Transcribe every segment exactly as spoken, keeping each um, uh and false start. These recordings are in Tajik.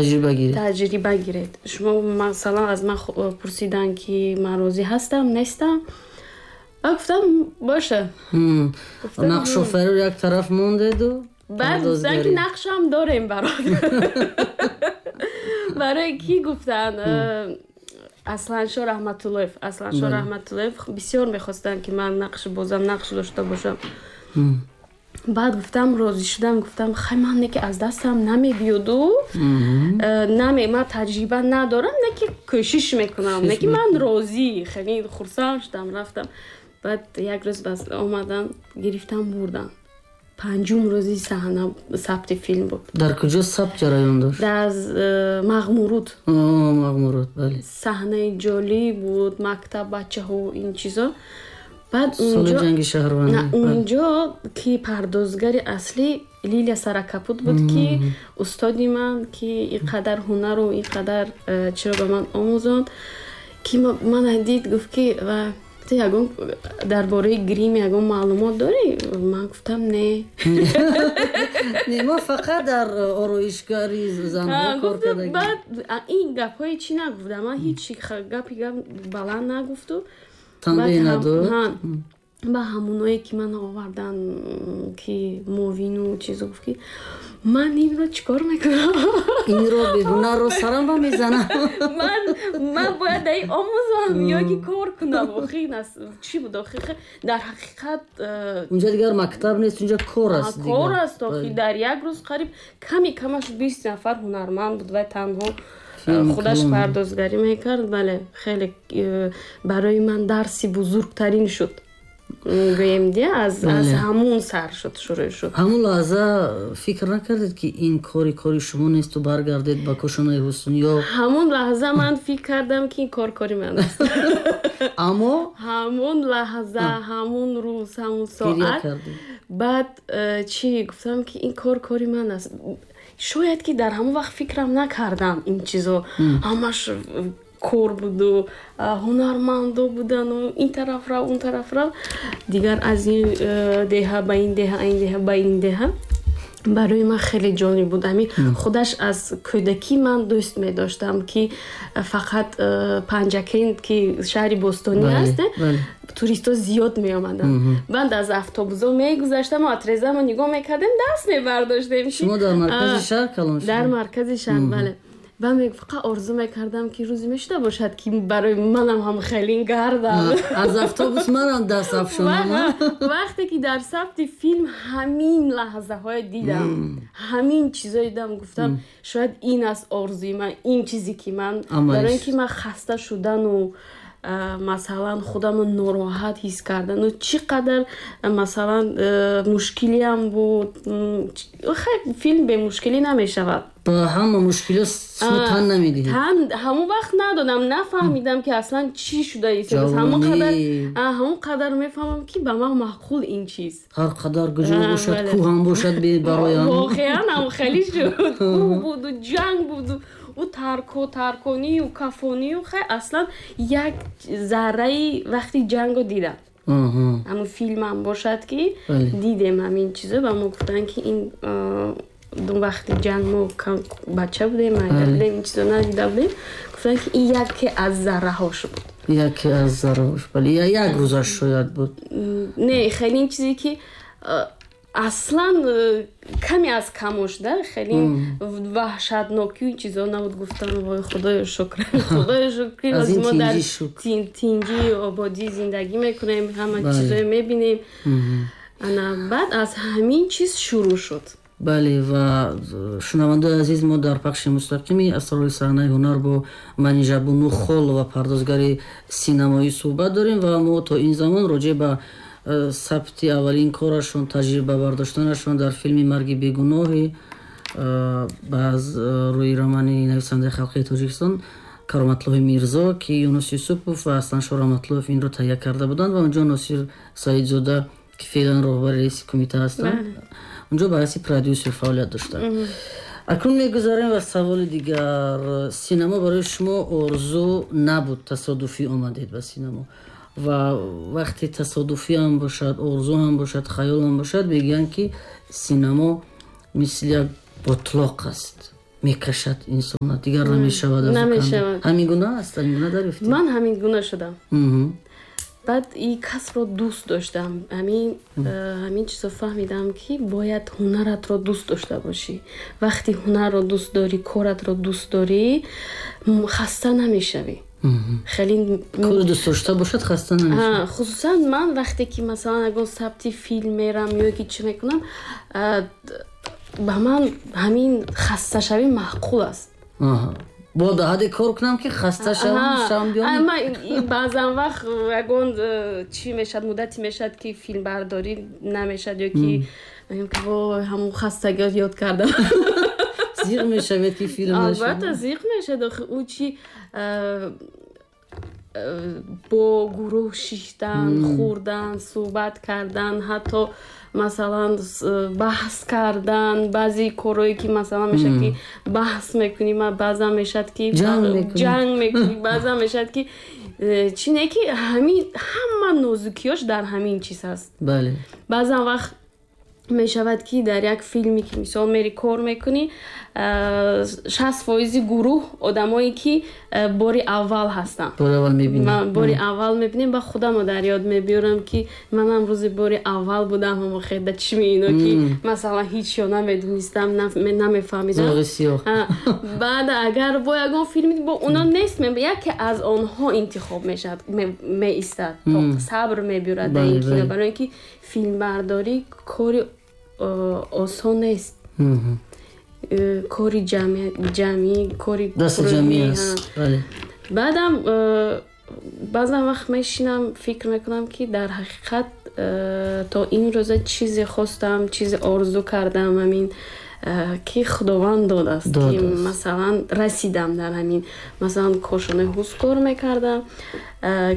Таҷриба гиред. Таҷриба гиред. Шумо, масалан, аз ман пурсиданд, ки ман розӣ ҳастам, нестам. Ман гуфтам, боша. Нақшофариро як тараф мондеду Баъд гуфтанд, ки нақшам дорем барот. Барои кӣ гуфтанд? Асланшо Раҳматуллоев. Асланшо Раҳматуллоев бисёр мехостанд, ки ман нақш бозам, нақш дошта бошам. Баъд гуфтам, розӣ шудам, гуфтам, хай, ман не ки аз дастам намебиёду, наме, ман таҷриба надорам, не ки кӯшиш мекунам, не ки ман розӣ, хеле хурсанд шудам, рафтам. Баъд як рӯз бас омадан, гирифтам, бурдан. Панҷум рӯзи саҳна сабти филм буд. Дар куҷо сабт ҷараён дошт? Дар э, Мағмуруд. Мағмуруд, бале. Саҳнаи ҷолиб буд, мактаб, бачаҳо, ин чизо. Баъд соли ҷанги шаҳрвандӣ. Унҷо ки пардозгари аслӣ Лилия Саракапут буд, ки устоди ман, ки ин қадар ҳунару ин қадар э, чиро ба ман омӯзонд, ки мана дид, гуфт, ки ту ягон дар бораи грим ягон маълумот дорӣ? Ман гуфтам, не. Не, мо фақат дар ороишгари занҳо кор кардагим. Баъд ин гапҳои чӣ нагуфтам, ман ҳеҷ гапи гап баланд нагуфту. Танбеҳ надод. Ба ҳамоное ки ман овардан, ки мовину чизо, гуфт, ки ман инро чӣ кор мекунам? Инро беҳунарро сарам ба мезанам. ман ман бояд даи омӯзам ё ки кор кунам? Охи чӣ буд, охи дар ҳақиқат э, Унҷа дигар мактаб нест, унҷа кор аст. Кор аст, охи дар як рӯз қариб ками камаш бист нафар ҳунарманд буд ва танҳо худаш пардозгарӣ мекард. Бале, хеле э, барои ман дарси бузургтарин шуд, гӯем, ди аз аз ҳамун сар шуд, шурӯъ шуд. Ҳамун лаҳза фикр накардед, ки ин кори кори шумо несту баргардед ба кошонаи ҳусн ё? Ҳамун лаҳза ман фикр кардам, ки ин кор кори ман аст. Аммо Ҳамун лаҳза, ҳамун рӯз, ҳамун соат. Баъд э, чӣ гуфтам, ки ин кор кори ман аст. Шояд ки дар ҳамон вақт фикрам накардам ин чизо, ҳамаш кор буду, ҳунармандо будану ин тараф рав, он тараф рав, дигар аз ин э, деҳа ба ин деҳа, ин деҳа ба ин деҳа. Барои ман хеле ҷолиб буд. Ҳамин худаш аз кӯдакӣ ман дӯст медоштам, ки фақат э, Панҷакент, ки шаҳри бостонӣ аст, туристҳо зиёд меомаданд. Баъд аз автобусо мегузаштам, отрезамо нигоҳ мекардем, даст мебардоштем. Шумо дар маркази шаҳр калон? Дар маркази шаҳр, бале. Баъд фақат орзу мекардам, ки рӯзе мешуда бошад, ки барои манам ҳам хеле гардам. Аз автобус манам даст афшонам. Вақте ки дар сабти филм ҳамин лаҳзаҳое дидам, ҳамин чизое дидам, гуфтам, шояд ин аст орзуи ман, ин чизе ки ман, барои ин ки ман хаста шудану, масалан, худамро нороҳат ҳис кардану чӣ қадар, масалан, мушкилиам буд. Филм бемушкилӣ намешавад. Ба ҳама мушкилиҳо шумо тан намедиҳед. Тан ҳамон вақт надодам, нафаҳмидам, ки аслан чӣ шуда. Ҳамон қадар мефаҳмам, ки ба ман маъқул ин чиз. Ҳар қадар куҷо бошад, кӯҳ ҳам бошад, бароям. Воқеан ҳам хеле шуд, кӯҳ буду, ҷанг буду, ӯ тарко тарконию кафонию. Хай, аслан як зарраи вақти ҷанго дидам, ҳамун филмам бошад, ки дидем ҳамин чизо. Ба мо гуфтанд, ки ин вақти ҷанг мо бача будем, майда будем, ин чизо надида будем. Гуфтанд, ки ин яке аз зарраҳош буд. Яке аз зарраҳош, бале, як рӯзаш шояд буд. Не, хеле ин чизе ки аслан э, каме аз камош да, хеле ваҳшатнокию ин чизо набуд. Гуфтам, вой, худоё шукр, худоё шукр, мо дар тинҷӣ, ободӣ зиндагӣ мекунем, ҳама чизое мебинем. Ана баъд аз ҳамин чиз шурӯъ шуд. Бале, ва шунавандаои азиз, мо дар пахши мустақими асрори саҳнаи ҳунар бо Манижабону Холова, пардозгари синамоӣ, суҳбат дорем ва мо то ин замон роҷеъ ба э, сабти аввалин корашон, таҷриба бардоштанашон дар филми «Марги бегуноҳи» э, аз э, рӯи романи нависандаи халқии Тоҷикистон Кароматллоҳи Мирзо, ки Юнус Юсупов ва Асланшо Раҳматуллоев инро таҳия карда буданд ва онҷо Носир Саидзода, ки феълан роҳбари раиси кумита ҳастанд, унҷо ба ҳайси продюсер фаъолият доштанд. Акнун мегузарем ба саволи дигар. Синамо барои шумо орзу набуд, тасодуфӣ омадед ба синамо. Ва вақте тасодуфӣ ҳам бошад, орзу ҳам бошад, хаёл ҳам бошад, мегӯянд, ки синамо мисли як ботлоқ аст. мекашад инсона, дигар намешавад. Намешавад. Ҳамин гуна аст, ҳамин гуна дарёфтед? Ман ҳамин гуна шудам. Баъд ин касбро дӯст доштам. Ҳамин ҳамин чизо фаҳмидам, ки бояд ҳунаратро дӯст дошта бошӣ. Вақти ҳунарро дӯст дорӣ, коратро дӯст дорӣ, хаста намешавӣ. Хеле кор дӯст дошта бошад, хаста намешавад. Хусусан ман вақте ки масалан ягон сабти филм мерам ё ки чӣ мекунам, ба ман ҳамин хасташавӣ маъқул аст. Бо дар ҳадде кор кунам, ки хаста шавам, шавам биём. Ман баъзан вақт ягон чӣ мешавад, муддате мешавад, ки филмбардорӣ намешавад ё ки мегӯям, ки вой, ҳамон хастагиро ёд кардам. Зиқ мешавед, ки филм нашавад? Албатта зиқ мешавад. Охи ӯ чӣ бо гурӯҳ шиштан, хӯрдан, суҳбат кардан, ҳатто масалан баҳс кардан, баъзе корҳое ки масалан мешавад, ки баҳс мекунӣ, баъзан мешавад, ки ҷанг мекунӣ, баъзан мешавад, ки чӣ не, ки ҳамин ҳама нозукиёш дар ҳамин чиз ҳаст. Бале. Баъзан вақт мешавад, ки дар як филме ки мисол мери кор мекунӣ, шаст фоизи гурӯҳ одамое ки бори аввал ҳастанд. Бори аввал мебинем. Бори аввал мебинем. Ба худамо дар ёд мебиёрам, ки манам рӯзи бори аввал будам, ҳамо хеда чишми ино, ки масалан ҳеҷ ё намедонистам, намефаҳмидам. Зоғи сиёҳ. Баъд агар бо ягон филми бо оно нест, яке аз онҳо интихоб мешавад, меистад, сабр мебиёрад дар ин кино, барои ин ки филмбардорӣ кори осон нест. Кори ҷамъӣ, кори дасти ҷамъӣ аст. Баъдам баъзан вақт мешинам, фикр мекунам, ки дар ҳақиқат то ин рӯза чизе хостам, чизе орзу кардам, ҳамин ки Худованд додааст, ки масалан расидам дар ҳамин, масалан кошонаи ҳус кор мекардам,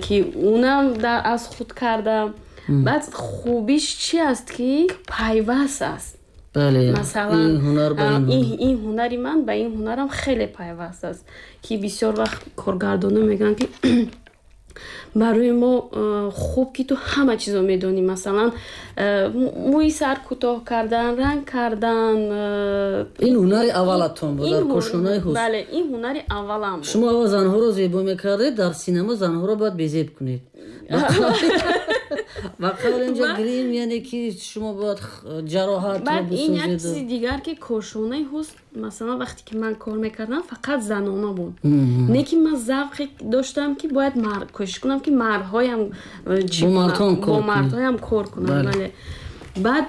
ки унам аз худ кардам. Баъд хубиш чи аст, ки пайваст аст. Бале, масалан ин ҳунари ман ба ин ҳунарам хеле пайваст аст, ки бисёр вақт коргардонҳо мегӯянд, ки барои мо хуб, ки ту ҳама чизо медонӣ, масалан мӯи сар кӯтоҳ кардан, ранг кардан. Ин ҳунари аввалатон буд дар кошонаи ҳус? Бале, ин ҳунари аввалам буд. Шумо аввал занҳоро зебо мекардед, дар синемо занҳоро бояд безеб кунед. Ва қавл инҷо грим, яъне ки шумо бояд ҷароҳатро баъд ин як бисозед. Чизи дигар, ки кошонаи ҳус, масалан вақте ки ман кор мекардам, фақат занона буд. Не ки ман завқе доштам, ки бояд кӯшиш кунам, ки мардҳоям бо мардҳоам бо мардҳоям кор кунам. Бале. Баъд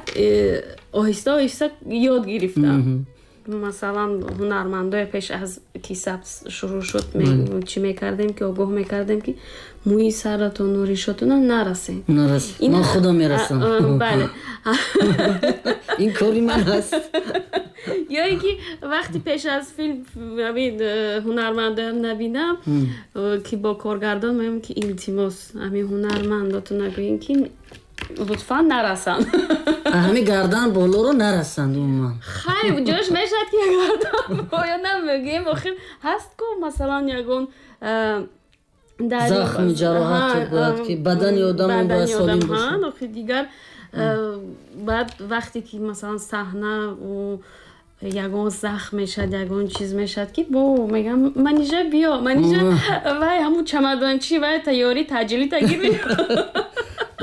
оҳиста оҳиста ёд гирифтам. Масалан ҳунармандои пеш аз ки сабт шурӯъ шуд, чӣ мекардем, ки огоҳ мекардем, ки мӯи саратону ришотона нарасед. Нарасед. Ман худам мерасам. Бале. Ин кори ман аст. Ё ин ки вақти пеш аз филм ҳамин ҳунармандоям набинам, ки бо коргардон мегӯям, ки илтимос, ҳамин ҳунармандотон нагӯем, ки лутфан нарасанд. Ҳамин гардан болоро нарасанд умуман. Хай, ҷош мешавад, ки гардан боё намегӯем, охир ҳаст ку масалан ягон захми ҷароҳат бояд, ки бадани одам бояд солим бошад. Охир дигар баъд вақте ки масалан саҳна ягон захм мешавад, ягон чиз мешавад, ки бо мегӯям, Манижа биё, Манижа, вай ҳамун чамадончи, вай тайёрӣ таъҷилӣ тагир биё.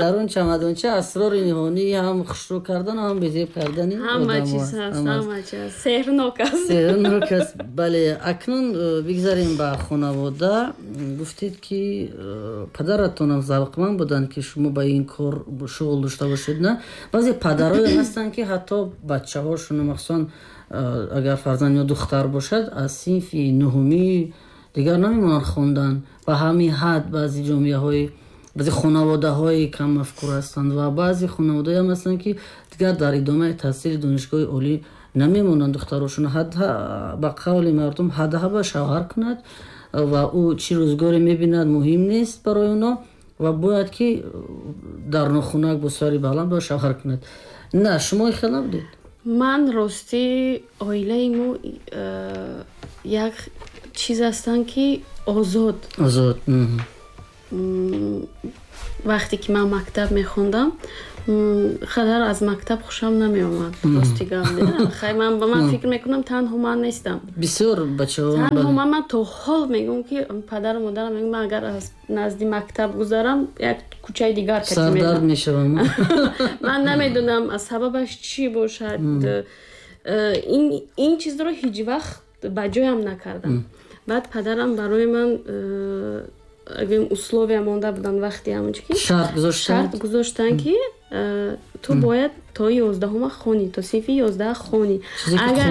Дар он чамадонча асрори ниҳонӣ ҳам хушрӯ кардан, ҳам безеб кардани ҳама чиз ҳаст, ҳама чиз сеҳрнок аст. Сеҳрнок аст, бале. Акнун бигзарем ба хонавода. Гуфтед, ки падаратонам завқманд буданд, ки шумо ба ин кор шуғл дошта бошед, на? Баъзе падарое ҳастанд, ки ҳатто бачаҳошон, махсусан агар фарзанд ё духтар бошад, аз синфи нуҳумӣ дигар намемонанд хондан. Ба ҳамин ҳад баъзе ҷомеаҳои, баъзе хонаводаҳои каммафкур ҳастанд ва баъзе хонаводаҳое ҳам ҳастанд, ки дигар дар идомаи таҳсили донишгоҳи олӣ намемонанд духтарошон. Ба қавли мардум ҳадаҳа ба шавҳар кунад ва ӯ чӣ рӯзгоре мебинад муҳим нест барои оно ва бояд ки дар нохунак бо сари баланд бояд шавҳар кунад. На, шумо хел набудед? Ман ростӣ оилаи мо як чиз ҳастанд, ки озод. Озод. Вақте ки ман мактаб мехондам, Қадар аз мактаб хушам намеомад, рости гап. Хай, ман ба ман фикр мекунам, танҳо ман нестам. Бисёр бачаҳо. Танҳо ман, ман то ҳол мегӯям, ки падару модарам мегӯям, ман агар аз назди мактаб гузарам, як кӯчаи дигар кати сардард мешавам. Ман намедонам, сабабаш чӣ бошад. Ин ин чизро ҳеҷ вақт ба ҷоям накардам. Баъд падарам барои ман гӯем условия монда буданд вақти ҳамончи ки шарт гузоштанд, шарт гузоштанд, ки ту бояд то ёздаҳума хонӣ, то синфи ёздаҳ хонӣ. Агар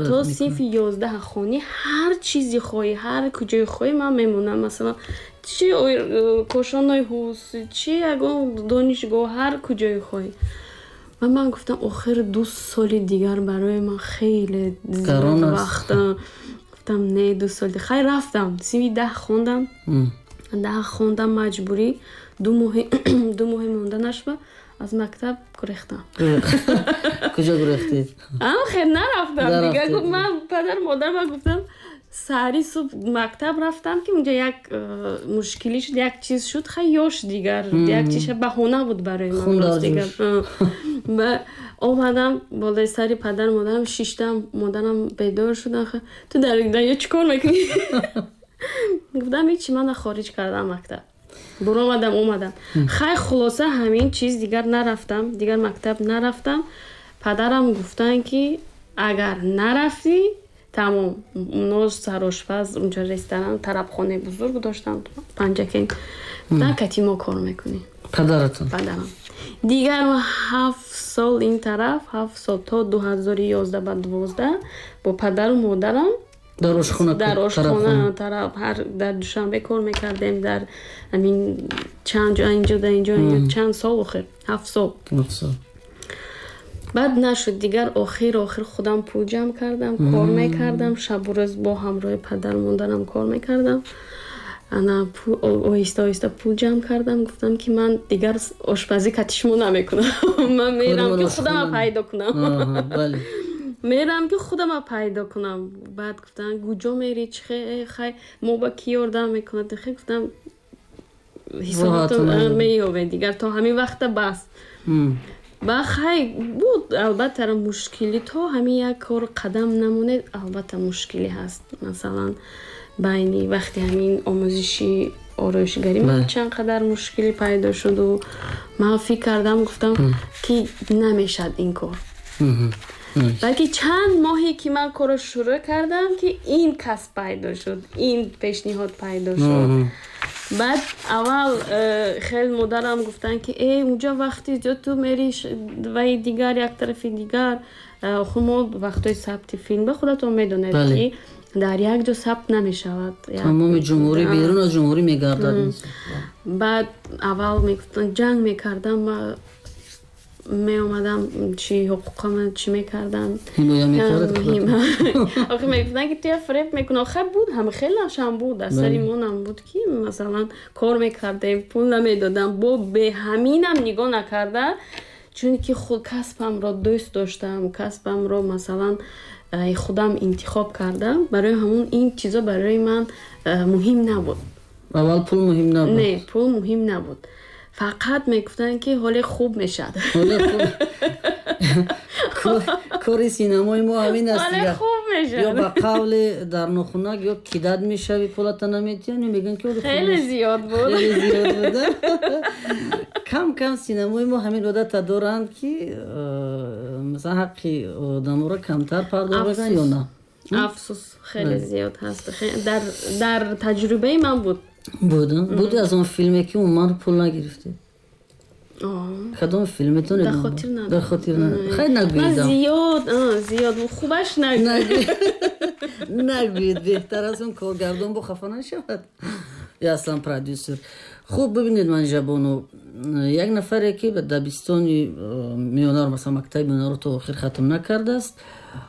то синфи ёздаҳ хонӣ, ҳар чизи хоҳӣ, ҳар куҷое хоҳӣ, ман мемонам. Масалан, чи кошонои ҳус, чи ягон донишгоҳ, ҳар куҷое хоҳӣ. Ва ман гуфтам, охир ду соли дигар барои ман хеле зиёд вақт. Гуфтам, не, ду соли. Хай, рафтам, синфи даҳ хондам, даҳ хондам маҷбурӣ, ду моҳи ду моҳи монда нашва, аз мактаб гурехтам. Куҷо гурехтед? Ам хел нарафтам дигар. Ман падару модарам гуфтам, саҳари субҳ мактаб рафтам, ки унҷа як э, мушкилӣ шуд, як чиз шуд. Хай, ёш дигар, як чиз баҳона буд барои ман, дигар. Омадам, болои сари падару модарам шиштам, модарам бедор шудан: «Ту дар дарё чӣ кор мекунӣ?» Гуфтам, ҳечи, мана хориҷ кардам мактаб, буромадам, омадам. Хай, хулоса, ҳамин чиз, дигар нарафтам, дигар мактаб нарафтам. Падарам гуфтанд, ки агар нарафтӣ, тамом. Оно сарошпаз, унҷа ресторан, тарабхонаи бузург доштанд Панҷакент, гуфтанд, кати мо кор мекунӣ. Падаратон? Падарам. Дигар ҳафт сол ин тараф, ҳафт сол, то дуҳазору ёздаҳ ба дувоздаҳ бо падару модарам дар ошхона. Дар ошхона, тараф, ҳар дар Душанбе кор мекардем, дар ҳамин чанд ҷо, инҷо, дар инҷо, чанд сол, охир ҳафт сол. Баъд нашуд дигар. Охир охир худам пул ҷамъ кардам, кор мекардам, шабу рӯз бо ҳамроҳи падару модарам кор мекардам. Ана, оҳиста оҳиста пул ҷамъ кардам, гуфтам, ки ман дигар ошпазӣ кати шумо намекунам, ман мерам, ки худама пайдо кунам, мерам, ки худама пайдо кунам. Баъд гуфтанд, куҷо мери, чи хай, мо ба кӣ ёрдам мекунад? Хе, гуфтам, ҳисоботон меёбед, дигар то ҳамин вақта бас. Ба хай, буд, албатта, мушкилӣ. То ҳамин як кор қадам намонед, албатта, мушкилӣ ҳаст. Масалан, байни вақти ҳамин омӯзиши ороишгарӣ ман чанд қадар мушкилӣ пайдо шуду ман фикр кардам, гуфтам, ки намешад ин кор. Балки чанд моҳе ки ман корро шурӯъ кардам, ки ин касб пайдо шуд, ин пешниҳод пайдо шуд. Баъд аввал э, хел модарам гуфтанд, ки э, унҷа вақти зиёд ту мери ваи дигар, як тарафи дигар. Охир мо вақтҳои сабти филм, ба худатон медонед, ки дар як ҷо сабт намешавад. Тамоми ҷумҳурӣ, берун аз ҷумҳурӣ мегардад. Баъд аввал мегуфтанд, ҷанг мекардам, меомадам, чи ҳуқуқама чӣ мекардам. Ҳимоя мекард. Охир мегуфтанд, ки туя фиреб мекунӣ. Охир буд, ҳама хелашам буд, аз сари монам буд, ки масалан, кор мекардем, пул намедодам. Бо беҳаминам нигоҳ накарда, чунки худ касбамро дӯст доштам, касбамро, масалан, худам интихоб кардам, барои ҳамун ин чизо барои ман муҳим набуд. Аввал пул муҳим набуд? Не, пул муҳим набуд, фақат мегуфтанд, ки ҳоле хуб мешавад. Кори синамои мо ҳамин аст. Ҳоле хуб мешавад. Ё ба қавли дар нохунак, ё кидать мешавӣ, пулата наметиҳанд, ё мегӯянд, ки хеле зиёд буд. Хеле зиёд буд. Кам кам синамои мо ҳамин одата доранд, ки масалан, ҳаққи одаморо камтар пардохт мекунанд ё на? Афсӯс, хеле зиёд ҳаст, дар таҷрибаи ман буд. Буд буд аз он филме, ки умуман пул нагирифтед? Кадом филметон? Дар хотир надорам. Дар хотир надорам. Хай, нагӯедам. Зиёд зиёд, хубаш нагӯед. Нагӯед, беҳтар аст, он коргардон бо хафа нашавад ё аслан продюсер. Хуб, бибинед, Манижабону, як нафаре, ки ба дабистони миёнаро, масалан, мактаби миёнаро то охир хатм накардааст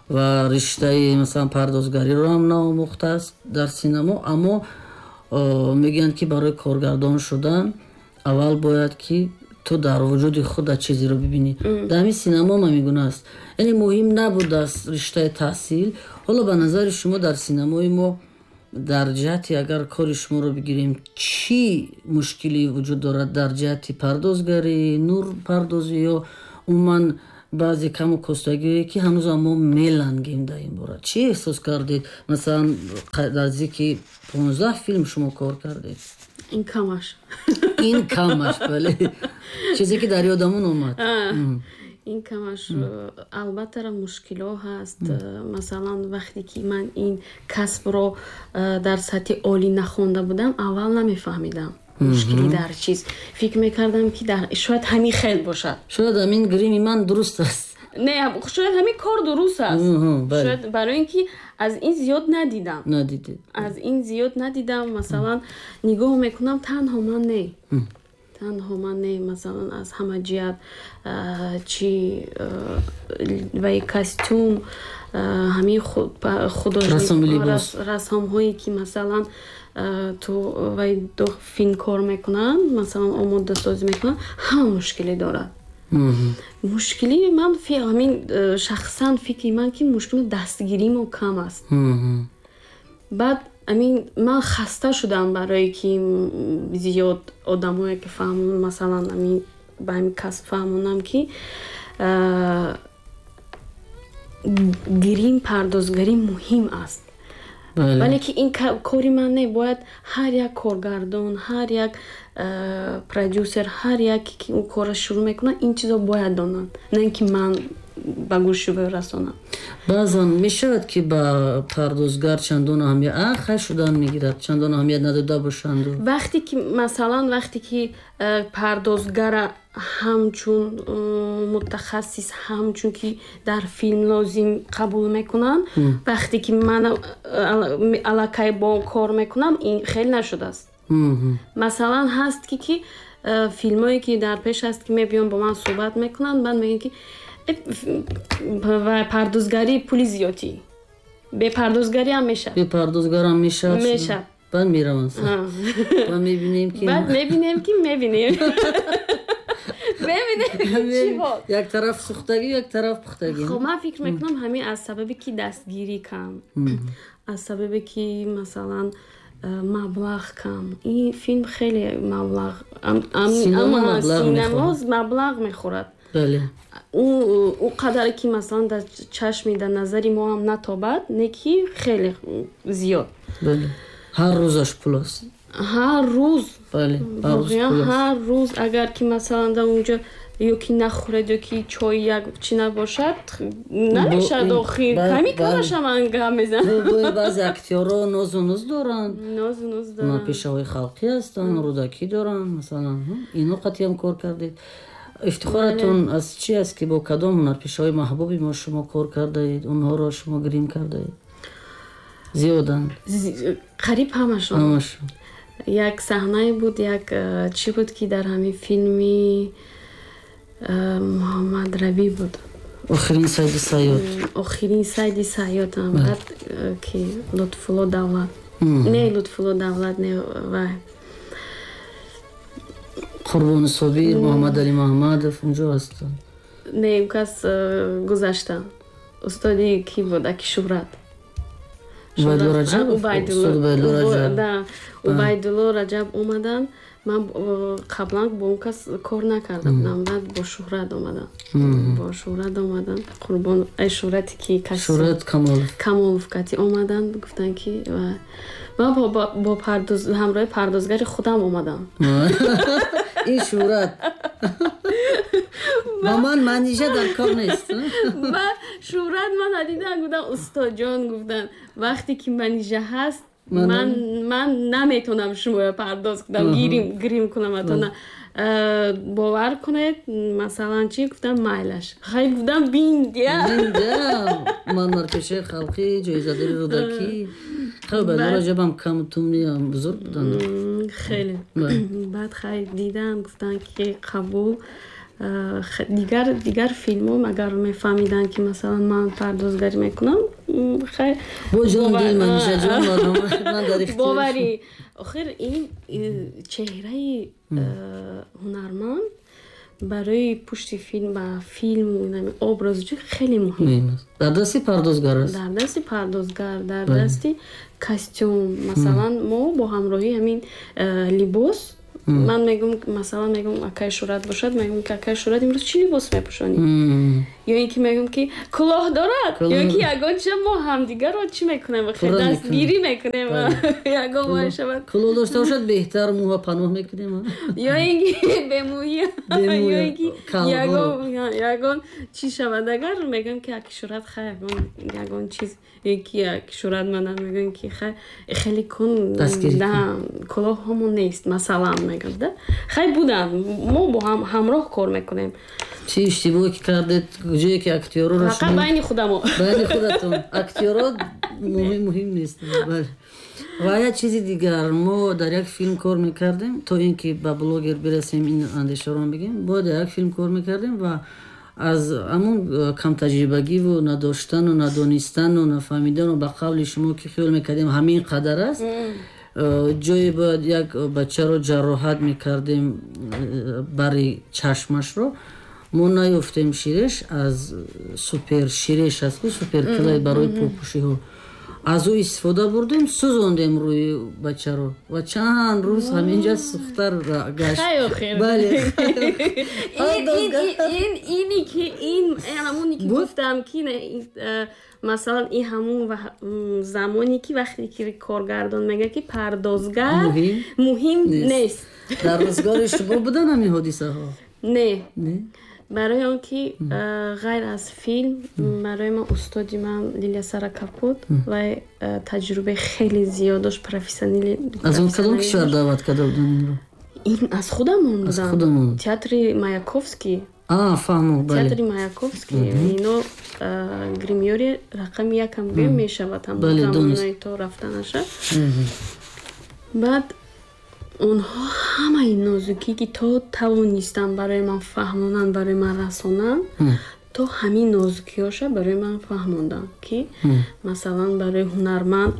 ва риштаи, масалан, пардозгариро ҳам наомӯхтааст дар синамо, аммо мегӯянд, ки барои коргардон шудан аввал бояд, ки ту дар вуҷуди худат чизеро бибинӣ. Дар ҳамин синамо ҳам ҳамин гуна аст, яъне муҳим набудааст риштаи таҳсил. Ҳоло ба назари шумо, дар синамои мо Дар ҷиҳати агар кори шуморо бигирем, чӣ мушкилӣ вуҷуд дорад дар ҷиҳати пардозгарӣ, нурпардозӣ ё умуман баъзе каму костагиҳое ки ҳанӯзам мо мелангем дар ин бора? Чӣ эҳсос кардед? Масалан, наздики понздаҳ филм шумо кор кардед. Ин камаш. Ин камаш, бале. Чизе ки дар ёдамон омад. Ин камаш. Албатта мушкилҳо ҳаст. Масалан, вақте ки ман ин касбро дар сатҳи олӣ нахонда будам, аввал намефаҳмидам мушкилӣ дар чиз. Фикр мекардам ки шояд ҳамин хел бошад. Шояд ҳамин грими ман дуруст аст. Не, шояд ҳамин кор дуруст аст. Шояд барои ин ки аз ин зиёд надидам. Надидед. Аз ин зиёд надидам. Масалан, нигоҳ мекунам, танҳо ман не. Танҳо ман не, масалан, аз ҳама ҷиҳат чи вай костюм, ҳамин художник расомҳое ки масалан ту вай филм кор мекунанд, масалан омодасозӣ мекунанд, ҳама мушкилӣ дорад. Мушкили ман ҳамин шахсан фикри ман ки мушкили дастгирии мо кам аст. Баъд амин ман хаста шудам барое ки зиёд одамое ки фаҳмон, масалан амин ба ҳамин касб фаҳмонам ки грим пардозгарӣ муҳим аст. Вале ки ин кори ман не, бояд ҳар як коргардон, ҳар як продюсер, ҳар яке ки ӯ корро шурӯъ мекунад, ин чизо бояд донанд, на ин ки ман ба гӯши ӯ расонам. Баъзан мешавад ки ба пардозгар чандон аҳамият а хай шудан мегирад, чандон аҳамият надода бошанд. Вақте ки масалан вақте ки пардозгара ҳамчун мутахассис, ҳамчун ки дар филм лозим қабул мекунанд, вақте ки ман аллакай бо кор мекунам, ин хеле нашудааст. Масалан ҳаст ки ки филмое ки дар пеш аст ки мебиён бо ман суҳбат мекунанд, баъд мегӯянд ки пардозгарӣ пули зиёдӣ, бепардозгарӣ ҳам мешавад. Бепардозгарам мешавад. Мешавад. Баъд мераванд. Баъд мебинем ки баъд мебинем ки мебинем. Мебинем чӣ ҳол. Як тараф сӯхтагӣ, як тараф пухтагӣ. Хоб ман фикр мекунам ҳамин аз сабабе ки дастгирӣ кам, аз сабабе ки масалан маблағ кам. Ин филм хеле маблағ, синемо маблағ мехӯрад. Бале. Ӯ қадаре ки масалан дар чашми, дар назари мо ҳам натобад, не ки хеле зиёд. Бале. Ҳар рӯзаш пул аст. Ҳар рӯз. Бале, ҳар рӯз агар ки масалан дар онҷо ё ки нахӯред, ё ки чой як чӣ набошад, намешавад охир. Ками камаша ман гап мезанам. Баъзе актёрҳо нозу нуз доранд. Нозу нуз доранд. Пешаҳои халқӣ ҳастанд, рӯдакӣ доранд, масалан. Ино қатъиам кор кардед. Ифтихоратон аз чӣ аст ки бо кадом ҳунарпешаҳои маҳбуби мо шумо кор кардаед, онҳоро шумо грим кардаед? Зиёданд. Қариб ҳамашон. Ҳамашон. Як саҳнае буд, як чӣ буд ки дар ҳамин филми Муҳаммад Рабӣ буд. Охирин сайди Сайёд. Охирин сайди Сайёд ҳам баъд ки Лутфулло Давлат. Не Лутфулло Давлат, не вай. Қурбони Собир, Муҳаммадалӣ Муҳаммадов унҷо ҳастанд. Не, ӯ кас гузаштанд. Устоди кӣ буд? Аки Шӯҳрат. Убайдулло Раҷаб? Убайдулло Раҷаб омаданд. Ман қаблан бо он кас кор накарда будам, баъд бо Шӯҳрат омадам. Бо Шӯҳрат омаданд. Қурбон, ай Шӯҳрате ки кас Шӯҳрат Камолов. Камолов кати омаданд, гуфтанд ки ман бо пардоз ҳамроҳи пардозгари худам омадам. Ин Шӯҳрат ба ман Манижа дар кор нест. Ба Шӯҳрат ман надидам, гуфтам устодҷон, гуфтанд вақте ки Манижа ҳаст ман ман наметавонам шуморо пардоз кунам, гирим грим кунам атона. Бовар кунед, масалан чӣ гуфтам, майлаш. Хай гуфтам биндия. Биндия. Ман ҳунарпешаи халқӣ, ҷоизадори Рӯдакӣ. Хай Убайдулло Раҷабам камтумни бузург буданд. Хеле. Баъд хай дидам, гуфтанд ки қабул. Дигар дигар филмҳо агар мефаҳмиданд ки масалан ман пардозгарӣ мекунам, хай бо ҷон дил Манижа ҷон ман дар ихтиёр. Боварӣ. Охир ин чеҳраи ҳунарманд барои пушти филм ва филму образу чӣ хеле муҳим. Дар дасти пардозгар аст. Дар дасти пардозгар, дар дасти Костюм, масалан, мо бо ҳамроҳии ҳамин либос, ман мегӯм, масалан, мегӯм, акай Шӯрат бошад, мегӯм, ки акай Шӯрат, имрӯз чӣ либос мепӯшонӣ? Ё ин ки мегӯм, ки кулоҳ дорад, ё ки ягон чиза, мо ҳамдигарро чӣ мекунем, дастгирӣ мекунем, ягон вай шавад. Кулоҳ дошта бошад, беҳтар, мӯҳа паноҳ мекунем. Ё ин ки бемӯя, ё ин ки ягон чӣ шавад, агар мегӯм, ки аки Шӯрат, хай, ягон ягон чиз, ё ки аки Шӯрат мана мегӯм, ки хай, хеле кун, кулоҳҳомон нест, масалан, мегӯм да, хай, буданд, мо бо ҳам ҳамроҳ кор мекунем. Чӣ иштибоҳе ки кардед, ҷое ки актёрро Фақат байни худамо. Байни худатон актёро муҳим нест. Ва як чизи дигар: мо дар як филм кор мекардем, то ин ки ба блогер бирасем, ин андешаро бигем, бояд дар як филм кор мекардем ва аз ҳамон камтаҷрибагиву надоштану надонистану нафаҳмидану, ба қавли шумо, ки хиёл мекардем ҳамин қадар аст, ҷое бояд як бачаро ҷароҳат мекардем бари чашмашро, мо наёфтем ширеш, аз супер ширеш аст ку, супер клей барои пӯпӯшиҳо, аз ӯ истифода бурдем, сӯзондем рӯи бачаро ва чанд рӯз ҳаминҷа сӯхтар гашт. Бале, ини ки ин ҳамоне ки гуфтам, ки масалан, ин ҳамун замоне ки вақте ки коргардон мегӯяд, ки пардозгар муҳим нест. Дар рӯзгори шумо будан ҳамин ҳодисаҳо? Не, барои он ки ғайр аз филм барои ман устоди ман Лилия Саракап буд ва таҷрибаи хеле зиёд дошт, профессионали. Аз он кадом кишвар даъват карда буданд инро? Ин аз худамон буданд, театри Маяковский. Фаҳмо. Театри Маяковский, ино гримёри рақами якам гӯем мешавад, ҳамон то рафтанаша. Баъд онҳо ҳамаи нозукӣ, ки то тавонистанд барои ман фаҳмонанд, барои ман расонанд, то ҳамин нозукиҳоша барои ман фаҳмонданд, ки масалан, барои ҳунарманд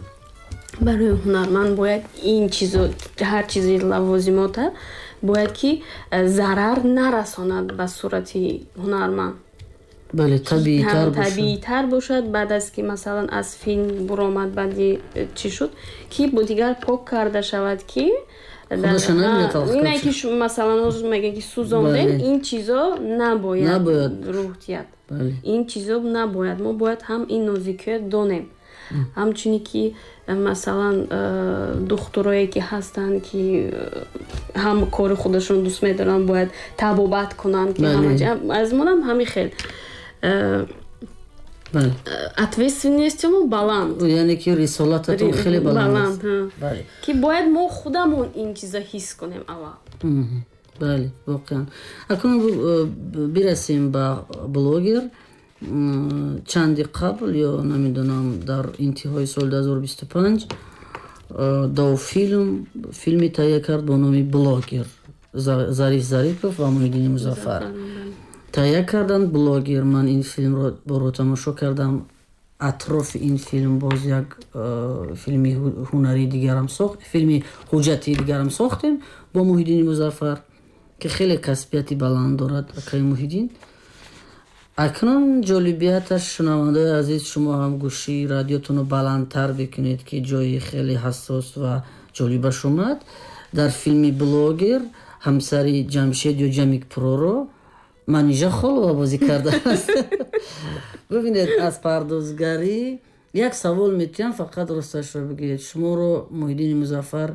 барои ҳунарманд бояд ин чизо, ҳар чизи лавозимота бояд ки зарар нарасонад ба сурати ҳунарманд. Бале, табиитар. Табиитар бошад. Баъд аз ки, масалан, аз филм буромад, баъди чӣ шуд, ки бо дигар пок карда шавад, ки ине ки масалан, ҳозир мегӯем, ки сӯзондем, ин чизо набояд рӯҳ диҳад, ин чизо набояд. Мо бояд ҳам ин нозикиё донем, ҳамчуне ки, масалан, духтурое ки ҳастанд, ки ҳам кори худашон дӯст медоранд, бояд табобат кунанд, ки аз монам ҳамин хел ответственности мо баланд. Яъне ки рисолататон хеле баланд. Ки бояд мо худамон ин чиза ҳис кунем аввал. Бале, воқеан. Акнун бирасем ба блогер. Чанди қабл ё намедонам, дар интиҳои соли дуҳазору бисту панҷ Довфилм филме таҳия кард бо номи «Блогер». Зариф Зарипов ва Муҳиддини Музаффар таҳия карданд «Блогер». Ман ин филмро боро тамошо кардам. Атрофи ин филм боз як э, филми ҳунарии дигарам сохт, филми ҳуҷҷатии дигарам сохтем бо Муҳиддини Музаффар, ки хеле касбияти баланд дорад акаи Муҳиддин. Акнун ҷолибияташ, шунавандаои азиз, шумо ҳам гӯшии радиотонро баландтар бикунед, ки ҷои хеле ҳассос ва ҷолибаш омад. Дар филми «Блогер» ҳамсари Ҷамшед ё Ҷамик Проро Манижа Холова бозӣ кардааст. Бибинед, аз пардозгарӣ як савол метиҳам, фақат росташро бигӯед. Шуморо Муҳиддини Музаффар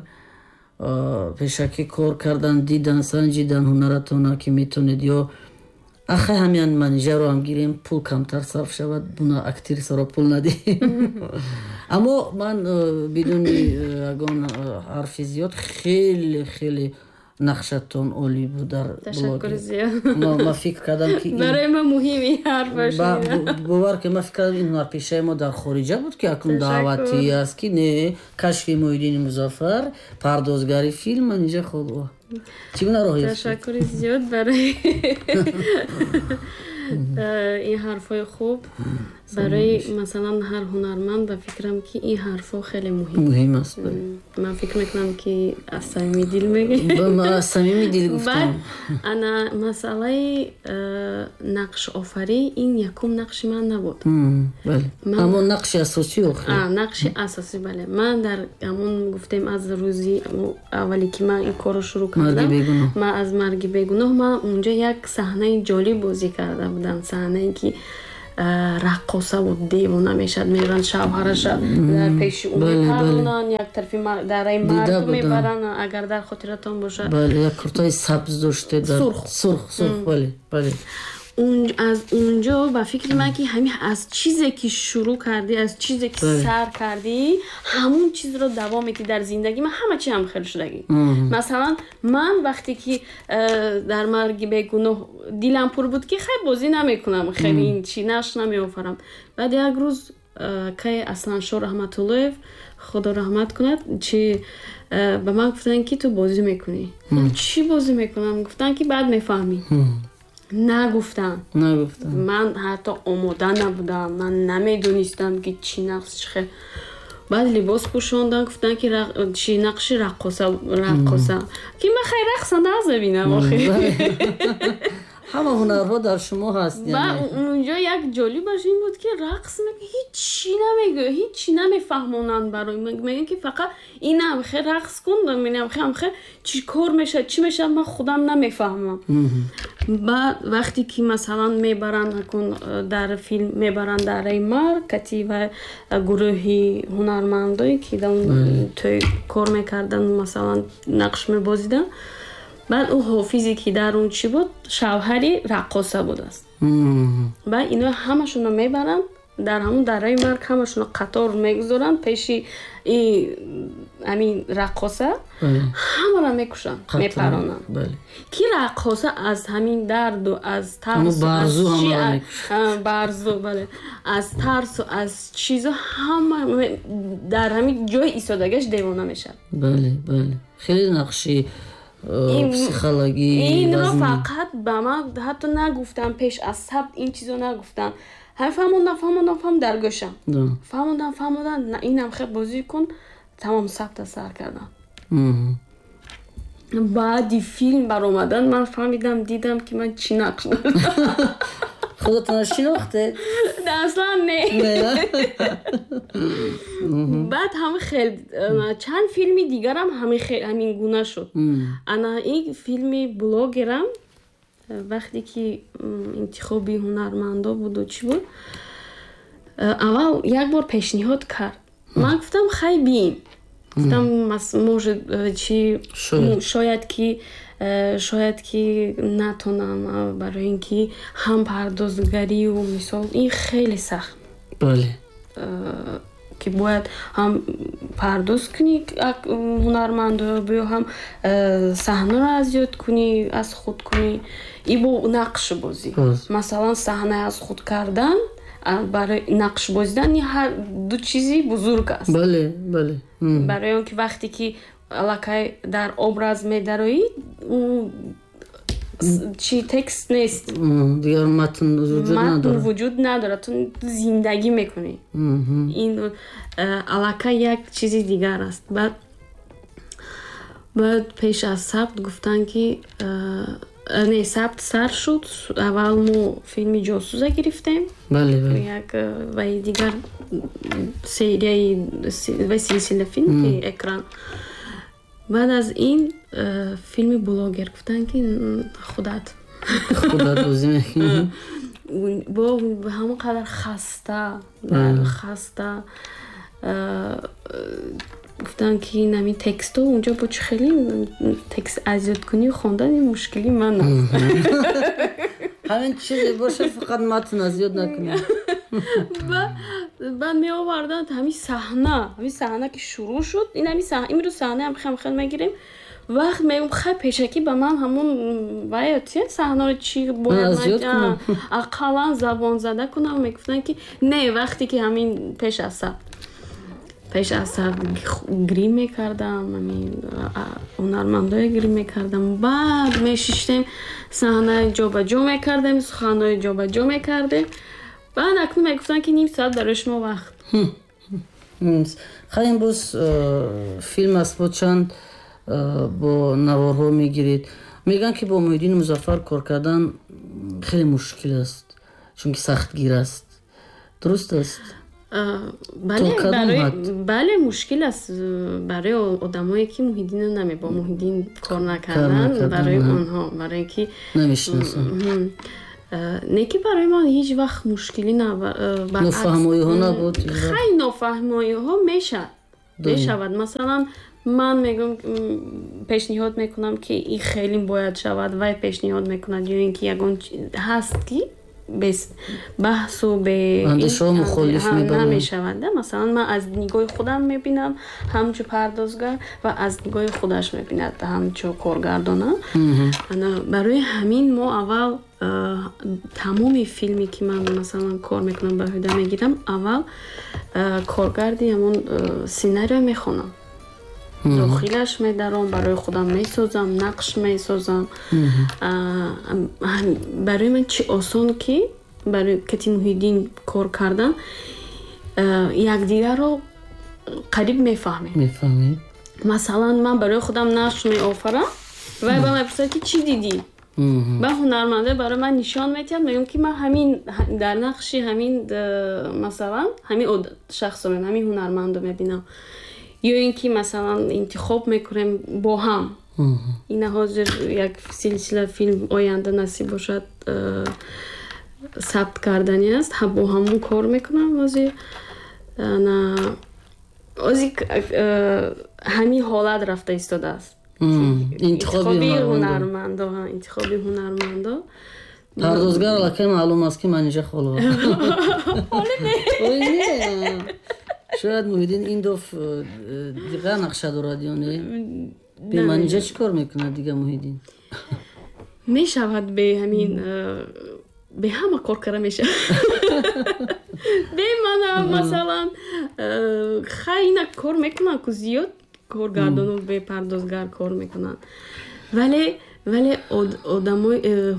пешакӣ кор кардан, дидан, санҷидан ҳунаратона, ки метонед, ё ахай, ҳамян Манижаро ҳам гирем, пул камтар сарф шавад, буна актрисаро пул надиҳем? Аммо ман бидуни ягон ҳарфи зиёд, хеле хеле нақшатон олӣ буд дар. Ташаккури зиёд. Ман фикр кардам, ки Барои ман муҳим ин ҳарфаш. Бовар ки, ман фикр кардам, ин ҳунарпешаи мо дар хориҷа буд, ки акнун даъватӣ аст, ки не, кашфи Муҳиддини Музаффар, пардозгари филм Манижа Холова. Чӣ гуна роҳ ёфтед? Ташаккури зиёд барои ин ҳарфҳои хуб. Барои масалан ҳар ҳунарманд ба фикрам ки ин ҳарфҳо хеле муҳим муҳим аст. Ман фикр мекунам ки аз самими дил мегӯӣ. Ман аз самими дил гуфтам. Баъд ана масъалаи нақшофарӣ ин якум нақши ман набуд. Бале, ҳамон нақши асосӣ охир. Нақши асосӣ, бале. Ман дар ҳамон гуфтем аз рӯзи аввале ки ман ин корро шурӯъ кардам, ман аз марги бегуноҳ ман унҷо як саҳнаи ҷолиб бозӣ карда будам, саҳнае ки раққоса буд, девона мешад, меранд шавҳараша дар пеши ӯ мепаронанд, як тарафи дараи марг мебаранд, агар дар хотиратон бошад. Бале, як куртаи сабз доште, сурх сурх сурх, бале бале. Аз унҷо ба фикри ман ки ҳамин аз чизе ки шурӯъ кардӣ, аз чизе ки сар кардӣ, ҳамун чизро давом медиҳӣ дар зиндагӣ. Ман ҳама чи ҳам хел шудагӣ. Масалан ман вақте ки дар марги бегуноҳ дилам пур буд ки хай бозӣ намекунам, хеле ин чи нақш намеофарам. Баъд як рӯз кай Асланшо Раҳматуллоев, худо раҳмат кунад, чи ба ман гуфтанд ки ту бозӣ мекунӣ. Чӣ бозӣ мекунам? Гуфтанд ки баъд мефаҳмӣ. Нагуфтам. Нагуфтам. Ман ҳатто омода набудам, ман намедонистам ки чӣ нақш чӣ хел. Баъд либос пӯшондан, гуфтанд ки чӣ нақши раққоса, раққоса. Ки ман хай рақса назабинам охир. Ҳама ҳунарҳо дар шумо ҳаст. Ва унҷо як ҷолибаш ин буд ки рақс мекунад, ҳеҷ намегӯяд, ҳеҷ намефаҳмонанд барои ман. Мегӯянд ки фақат инам хе рақс кун, инам хе ҳам хе чӣ кор мешавад, чӣ мешавад, ман худам намефаҳмам. Баъд вақте ки масалан мебаранд акун дар филм мебаранд дараи марг кати ва гурӯҳи ҳунармандое ки дар он тӯй кор мекарданд, масалан нақш мебозиданд. Баъд ӯ ҳофизе ки дар он чӣ буд, шавҳари раққоса будааст. Баъд ино ҳамашонро мебаранд дар ҳамон дараи марг, ҳамашонро қатор мегузоранд пеши ҳамин раққоса, ҳамаро мекушанд, мепаронанд. Ки раққоса аз ҳамин дарду аз тарсу барзу, бале, аз тарсу аз чизо ҳама дар ҳамин ҷои истодагиаш девона мешавад. Бале, бале, хеле нақши психологӣ. Инро фақат ба ман ҳатто нагуфтам, пеш аз сабт ин чизо нагуфтам. Ҳамин фаҳмондам, фаҳмондам, фаҳмондам дар гӯшам. Фаҳмондам, фаҳмондам, инам хел бозӣ кун, тамом сабта сар кардам. Баъди филм баромадан ман фаҳмидам, дидам ки ман чӣ нақш дорам. Худатонро шинохтед? Аслан не. Баъд ҳама хел чанд филми дигарам ҳамин гуна шуд. Ана ин филми блогерам вақте ки интихоби ҳунармандо буду чӣ буд, аввал як бор пешниҳод кард. Ман гуфтам хай биин. Гуфтам может чи шояд ки шояд ки натонам, барои ин ки ҳам пардозгарию мисол ин хеле сахт. Бале. Ки бояд ҳам пардоз кунӣ ҳунармандо, биё ҳам саҳнаро аз ёд кунӣ, аз худ кунӣ, и бо нақш бозӣ. Масалан саҳна аз худ кардан барои нақш бозидан ҳар ду чизи бузург аст. Бале, бале. Барои он ки вақте ки аллакай дар образ медароӣ, ӯ чи текст нест, дигар матн вуҷуд надорад, вуҷуд надорад, ту зиндагӣ мекунӣ. Ин аллакай як чизи дигар аст. Баъд баъд пеш аз сабт гуфтанд ки не, сабт сар шуд. Аввал мо филми ҷосуза гирифтем, бале, бале, як ваи дигар серияи ва силсила филм ки экран. Баъд аз ин филми блогер гуфтанд ки худат худат бозӣ мекунӣ. Бо ҳамон қадар хаста хаста гуфтанд ки ин текстҳо унҷо бо чӣ хеле текст аз ёд кунӣ, хондан ин мушкили ман аст. Ҳамин чизе бошад, фақат матн аз ёд накунӣ. Баъд меоварданд ҳамин саҳна, ҳамин саҳна ки шурӯъ шуд, ин ҳамин саҳна, имрӯз саҳна ҳам хел хел мегирем. Вақт мегӯм хай пешакӣ ба ман ҳамон вай саҳнаро чӣ бояд ақаллан забонзада кунам. Мегуфтанд ки не, вақте ки ҳамин пеш аз сабт пеш аз сабт грим мекардам, ҳамин ҳунармандое грим мекардам. Баъд мешиштем, саҳнаи ҷобаҷо мекардем, суханҳои ҷобаҷо мекардем. Баъд акнун мегуфтанд, ки ним соат барои шумо вақт. Хай, имрӯз филм аст, бо чанд бо наворҳо мегиред. Мегӯянд, ки бо Муҳиддини Музаффар кор кардан хеле мушкил аст, чунки сахтгир аст. Дуруст аст? Бале, мушкил аст барои одамое, ки Муҳиддинро наме бо Муҳиддин кор накардан, барои онҳо, барое ки намешиносанд. Не, ки барои ман ҳеҷ вақт мушкилӣ. Нофаҳмоиҳо набуд? Хай, нофаҳмоиҳо мешавад. Масалан, ман мегӯям, пешниҳод мекунам, ки ин хеле бояд шавад, вай пешниҳод мекунад, ё ин ки ягон ҳаст, ки без баҳсу андешаҳо мухолиф намешавад. Масалан, ман аз нигоҳи худам мебинам ҳамчу пардозгар ва аз нигоҳи худаш мебинад ҳамчу коргардона. Барои ҳамин мо аввал тамоми филме, ки ман, масалан, кор мекунам, ба ҳуда мегирам, аввал коргарди ҳамон сценарио мехонам, дохилаш медаром, барои худам месозам, нақш месозам. Барои ман чӣ осон, ки барои кати Муҳиддин кор кардан, якдигарро қариб мефаҳмем. Мефаҳмем. Масалан, ман барои худам нақш меофарам, вай ба ман мепурсад, ки чӣ дидӣ. Ба ҳунарманде барои ман нишон метиҳад, мегӯям, ки ман ҳамин дар нақши ҳамин, масалан, ҳамин шахсро, ҳамин ҳунармандро мебинам. Ё ин ки, масалан, интихоб мекунем бо ҳам. Ина ҳозир як силсила филм оянда насиб бошад, сабт кардани аст, бо ҳамон кор мекунам. Ҳозир ҳозир ҳамин ҳолат рафта истодааст. Интихоби ҳунармандо, интихоби ҳунармандо. Пардозгар аллакай маълум аст, ки Манижа Холова. Шояд Муҳиддин ин доф дигар нақша дорад ё не? Бе Манижа чӣ кор мекунад дига Муҳиддин? Мешавад, бе ҳамин, бе ҳама кор карда мешавад. Бе мана, масалан, хай, ина кор мекунанд ку, зиёд коргардону бепардозгар кор мекунанд, вале вале одамои э,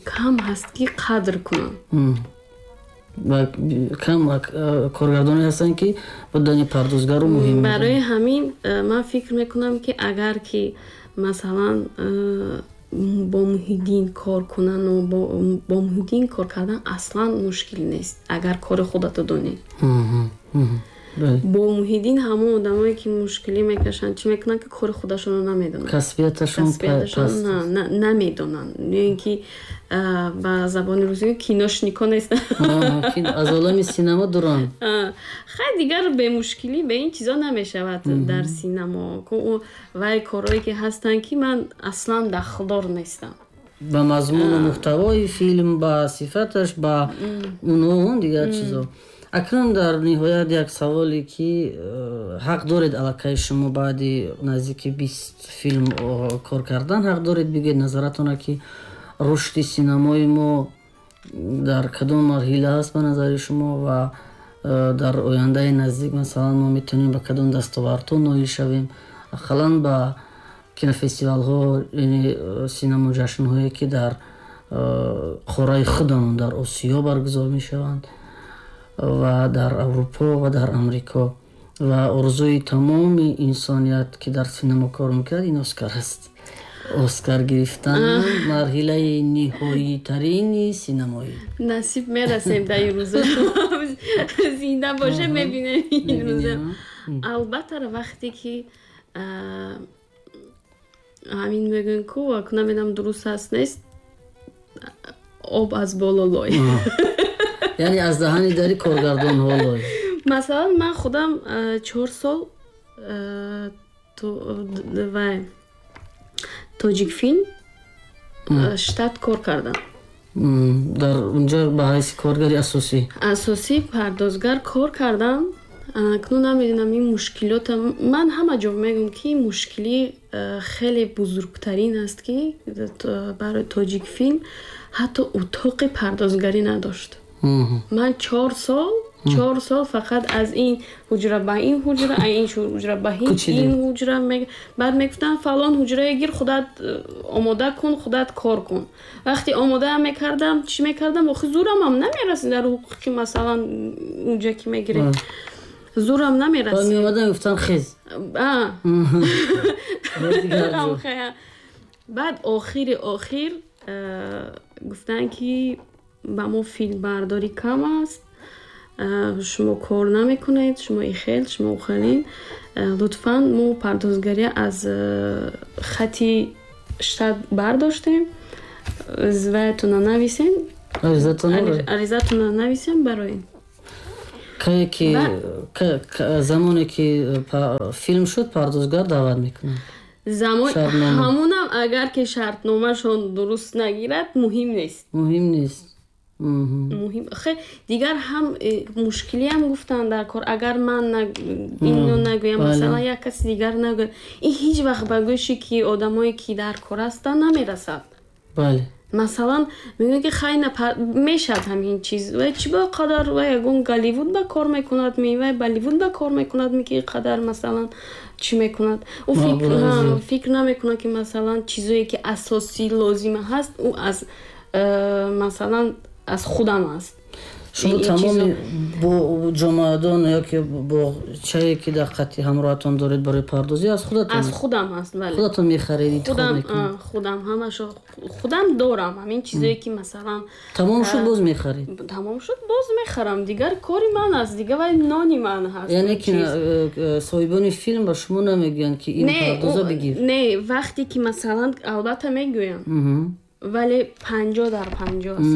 кам ҳаст, ки қадр кунанд. Кам коргардоне ҳастанд, ки будани пардозгару муҳим. Барои ҳамин э, ман фикр мекунам, ки агар ки, масалан, э, бо Муҳиддин кор кунану бо Муҳиддин кор кардан аслан мушкил нест, агар кори худато донӣ. Бо Муҳиддин ҳамон одамое, ки мушкилӣ мекашанд, чӣ мекунанд, ки кори худашонро намедонанд. Касбияташон. Намедонанд ё ин ки ба забони русӣ киношнико нестанд. Аз олами синемо дуранд. Хай, дигар бемушкилӣ бе ин чизо намешавад дар синамо. Вай корҳое, ки ҳастанд, ки ман аслан дахлдор нестам. Ба мазмуну муҳтавои филм, ба сифаташ, ба уну он дигар чизо. Акнун дар ниҳоят як саволе, ки э, ҳақ доред аллакай шумо баъди наздики бист филм кор кардан ҳақ доред бигӯед назаратона, ки рушди синамои мо дар кадом марҳила аст ба назари шумо ва э, дар ояндаи наздик, масалан, мо метавонем ба кадом дастовардҳо ноил шавем, ақаллан ба кинофестивалҳо, яъне э, синамо ҷашнҳое, ки дар қораи худамон, дар Осиё баргузор мешаванд ва дар Аврупо ва дар Амрико. Ва орзуи тамоми инсоният, ки дар синемо кор мекунад, ин Оскар аст. Оскар гирифтан марҳилаи ниҳоитарини синамоӣ. Насиб, мерасем дар ин рӯза. Зинда боше, мебинем ин рӯза, албатта. Вақте ки ҳамин мегӯем ку, намедонам дуруст аст, нест, об аз боло лой. Яъне аз даҳани дари коргардонҳо лой. Масалан, ман худам чор сол вай Тоҷикфилм штат кор кардам. Дар унҷо ба ҳайси коргари асосӣ? Асосӣ, пардозгар кор кардам. Акнун намедонам, ин мушкилота ман ҳама ҷо мегӯям, ки мушкилӣ хеле бузургтарин аст, ки барои Тоҷикфилм ҳатто утоқи пардозгарӣ надошт. Ман чор сол Чор сол фақат аз ин ҳуҷра ба ин ҳуҷра, аз ин ҳуҷра ба ин ҳуҷра. Баъд мегуфтанд фалон ҳуҷрае гир, худат омода кун, худат кор кун. Вақте омода мекардам, чӣ мекардам? Охи зӯрамам намерасид дар ҳуқуқи масалан унҷа ки мегирем. Зӯрам намерасид. Меомадам мегуфтанд хез. Баъд охири охир гуфтанд ки ба мо филмбардорӣ кам аст, шумо кор намекунед, шумо ихел, шумо ухелин, лутфан мо пардозгарӣ аз хати штат бардоштем, ваятона нависем, аризатона нависем барои кае ки замоне ки филм шуд пардозгар даъват мекунад. Замон ҳамунам агар ки шартномашон дуруст нагирад муҳим нест. Муҳим нест. Муҳим хе дигар ҳам мушкилиам гуфтанд дар кор, агар ман ино нагӯям, масалан як каси дигар нагӯяд, ин ҳеҷ вақт ба гӯши ки одамое ки дар кор ҳастанд намерасад. Бале. Масалан мегӯянд ки хай мешавад ҳамин чиз, вай чӣ ба қадар вай ягон Голливуд ба кор мекунад, ми вай Болливуд ба кор мекунад, ми ки қадар масалан чӣ мекунад. Ӯ фикр намекунад ки масалан чизое ки асосӣ лозима ҳаст, ӯ аз масалан аз худам аст. Шумо тамоми бо ҷомаадон ё ки боғчае ки дар қати ҳамроҳатон доред барои пардозӣ аз худатон? Аз худам аст, бале. Худатон мехаред, интихоб мекунед? Худам, ҳамашо худам дорам. Ҳамин чизое ки масалан тамом шуд боз мехаред? Тамом шуд боз мехарам. Дигар кори ман аст, дигар вай нони ман ҳаст. Яъне ки соҳибони филм ба шумо намегӯянд ки ин пардоза бигир? Не, вақте ки масалан албатта мегӯянд, вале панҷоҳ дар панҷоҳ аст.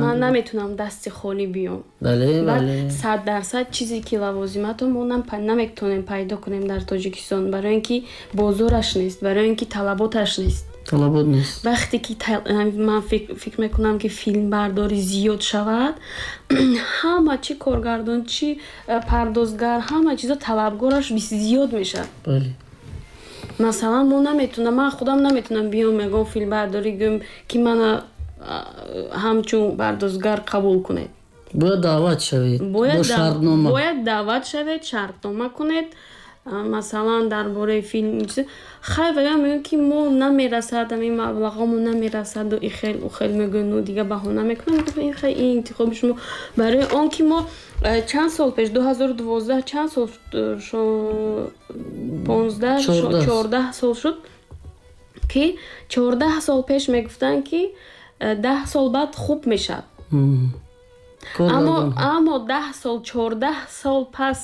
Ман наметунам дасти холӣ биём. Бале, бале. Сад дарсад чизе ки лавозимато мо наметонем пайдо кунем дар Тоҷикистон, барои ин ки бозораш нест, барои ин ки талаботаш нест. Талабот нест. Вақте ки ман фикр мекунам ки филмбардорӣ зиёд шавад, ҳама чи коргардон, чи пардозгар, ҳама чизо талабгораш зиёд мешавад. Бале. Масалан мо наметунам, ман худам наметунам биём ягон филмбардорӣ гӯям ки мана ҳамчун пардозгар қабул кунед. Бояд даъват шавед, бо шартнома. Бояд даъват шавед, шартнома кунед. Масалан дар бораи филм хай вая мегӯянд ки мо намерасад, ҳамин маблағҳомо намерасаду ихел ухел мегӯянд, ну дигар баҳона мекунам. Ин хай ин интихоби шумо. Барои он ки мо чанд сол пеш, ду ҳазору дувоздаҳ, чанд сол, понздаҳ, чордаҳ сол шуд ки чордаҳ сол пеш мегуфтанд ки даҳ сол баъд хуб мешавад. Аммо аммо даҳ сол, чордаҳ сол пас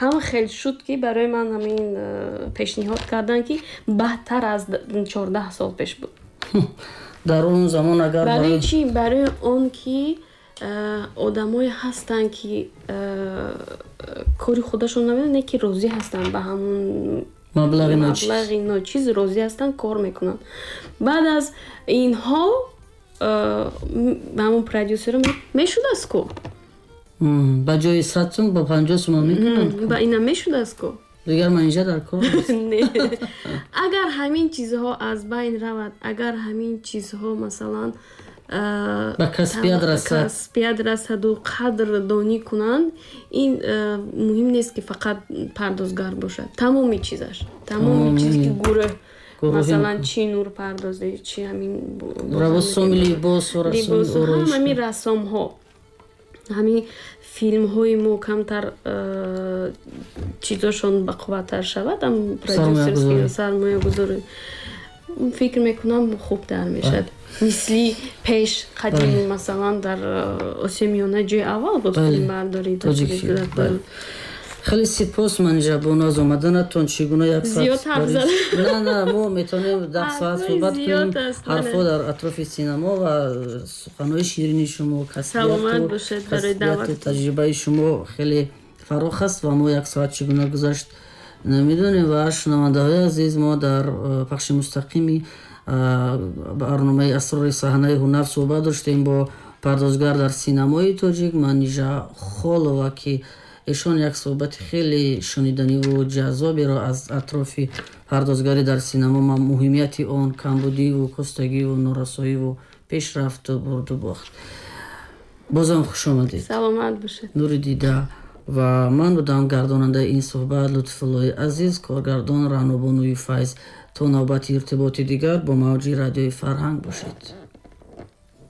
ҳама хел шуд ки барои ман ҳамин пешниҳод карданд ки баҳтар аз чордаҳ сол пеш буд. Дар он замон агар барои чӣ? Барои он ки одамое ҳастанд ки кори худашон намедонанд, не ки розӣ ҳастанд ба ҳамон маблағи ночиз, маблағи ночиз розӣ ҳастанд, кор мекунанд. Баъд аз инҳо ҳамон продюсер мешудааст ку, ба ҷои сад сум ба панҷоҳ сум мекунанд. Ба ина мешудааст ку, дигар манижа дар кор нест. Агар ҳамин чизҳо аз байн равад, агар ҳамин чизҳо масалан ба касбият расад, касбият расаду қадрдонӣ кунанд, ин муҳим нест ки фақат пардозгар бошад. Тамоми чизаш, тамоми чиз ки гурӯҳ, масалан чӣ нурпардозӣ, чӣ ҳамин расоми либос, ҳамин рассомҳо, ҳамин филмҳои мо камтар чизошон бақувваттар шавад, ам продюсерский сармоягузорӣ, фикр мекунам хубтар мешавад. Мисли пеш қадим, масалан дар Осиёи Миёна ҷои аввал буд филмбардорӣ тоҷик. Хеле сипос Манижа бону аз омаданатон. Чӣ гуна як соат не, не, мо метавонем даҳ соат суҳбат кунем. Ҳарфҳо дар атрофи синамо ва суханҳои ширини шумо, касбияту таҷрибаи шумо хеле фарох аст ва мо як соат чӣ гуна гузашт намедонем. Ва шунавандаҳои азиз, мо дар пахши мустақими барномаи Асрори саҳнаи ҳунар суҳбат доштем бо пардозгар дар синамои тоҷик Манижа Холова, ки эшон як суҳбати хеле шуниданиву ҷаззоберо аз атрофи пардозгарӣ дар синамо, муҳимияти он, камбудиву костагиву норасоиву пешрафту бурду бохт. Бозам хуш омадед. Саломат бошед. Нури дида. Ва ман будам гардонандаи ин суҳбат Лутфуллои Азиз, коргардон Раънобонуи Файз. То навбати иртиботи дигар бо мавҷи радиои Фарҳанг бошед.